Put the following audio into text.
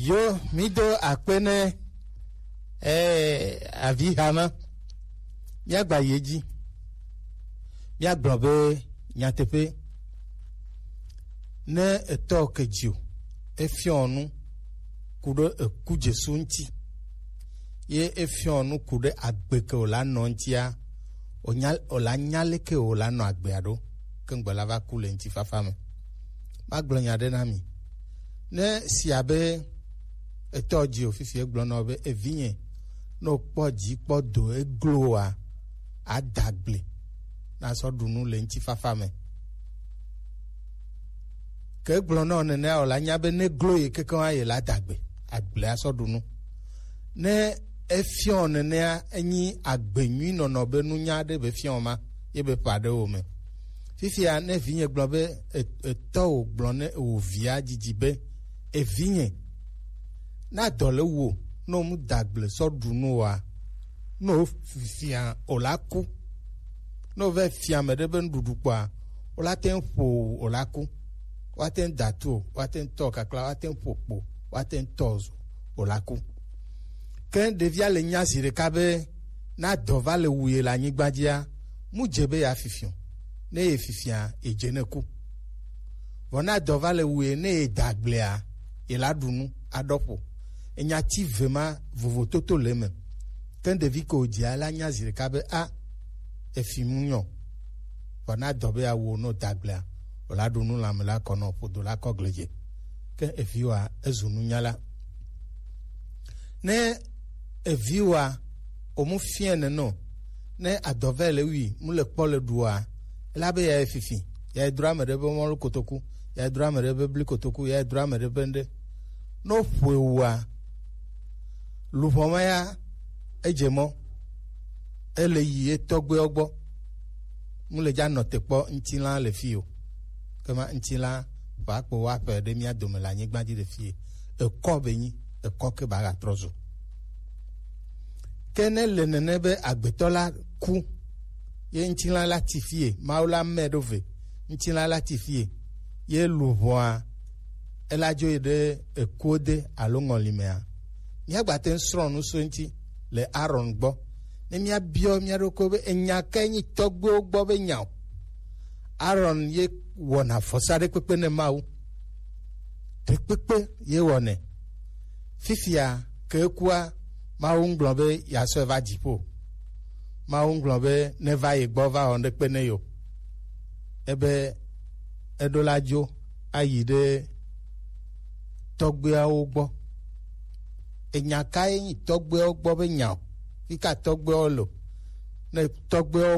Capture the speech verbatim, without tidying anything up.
Yo, mido akpe ne eh, avi hama. Míagba yi edzi. Míagblɔ be nyateƒe, ne etɔ ke dzi o, efiɔ nu ku ɖe eku Jesu ŋuti, ye efiɔ nu ku ɖe agbe ke wòla nɔ ŋutia, wònya, wòla nya leke wòla nɔ agbea ɖo, ke ŋgbe la va ku le ŋutifafa me. Magblɔ nya ɖe na mi. Ne si abe etɔ dzi o fifi egblɔ na wò be, "Evinye, ne wòkpɔ dzi kpɔ do eglo oa, ada gble na sɔ ɖu nu le ŋutifafa me." Ke egblɔ na wò nenea, wòla nya be ne glo ye kekeŋ ye la da gbe, agble asɔ ɖu nu. Ne efiɔ nenea, enyi agbe nyui nɔnɔ be nunya ɖe be fiɔ ma, ye be ƒa ɖe wo me. Fifia, ne vinye gblɔ be, e-, etɔ wò gblɔ ne wò via dzidzi be, "Evinye, na dɔ le wo, ne wò mu da gble sɔ ɖu nu oa, ne wò fifia wòla ku." Ne wò vɛ fia ame ɖe be nuɖuɖu kpɔa, wòla te ŋu ƒo wò wòla ku. Woate ŋu da tu o, woate ŋu tɔ kakla, woate ŋu ƒo kpo, woate ŋu tɔ zo wòla ku. Ke ɖevia le nya zi ɖeka be, na dɔ va le wu ye le anyigba dzia, mu dze be ya fifi o. Ne ye fifia, ye dze ne ku. Vɔ na dɔ va le wu ye, ne ye da gblea, ye la ɖu nu aɖɔ ƒo. Enya ti ve ma vovototo le eme. Ke ɖevi ke wòdzia la nya zi ɖeka be, a, efi mu nyɔ. Vɔ na dɔ be ya wu o, ne wòda gblea, wòla ɖu nu lãme la kɔ nɔ ƒodo la kɔ gledze. Ke eviwoa, ezu nunyala. Ne eviwoa, wòmu fiɛ nene o, ne adɔvɛ le wui, mu le kpɔ le ɖua, ela be ya ye fifi, ya ye dro ame ɖe be mɔlu kotoku, ya ye dro ame ɖe be bli kotoku, ya ye dro ame ɖe be ŋɖe. Ne wòƒoe wua, luʋɔ ma ya, edze mɔ, ele yi ye tɔgbuiwo gbɔ. Mu le dza nɔ te kpɔ ŋutilã le fi o. Ke ma ŋutilã va kpo wa ƒe ɖe mía dome le anyigba dzi le fi. Ekɔ be nyi, ekɔ ke ba ga trɔ zo. Ke ne le nene be agbetɔ la ku, ye ŋutilã la ti fie, Mawu la mɛ ɖo ve, ŋutilã la ti fie, ye luʋɔa, ela dzo yi ɖe ekuo de alo ŋɔli mea, míagba te ŋu srɔ̃ nu so eŋuti le Aron gbɔ. Ne míabiɔ mía ɖokui be enya kae nyi tɔgbuiwo gbɔ be nya o. Aron ye wɔna vɔsa ɖekpekpe ne Mawu. Ɖekpekpe ye wɔnɛ. Fifia ke ekua, Mawu ŋgblɔ be yeasɔe va dziƒo. Mawu ŋgblɔ be neva ye gbɔ va wɔ ŋɖekpe ne yo. Ebe eɖo la dzo ayi ɖe tɔgbuiawo gbɔ. Enya kae nyi tɔgbuiawo gbɔ be nya o? Fi ka tɔgbuiawo le o? Ne tɔgbuiawo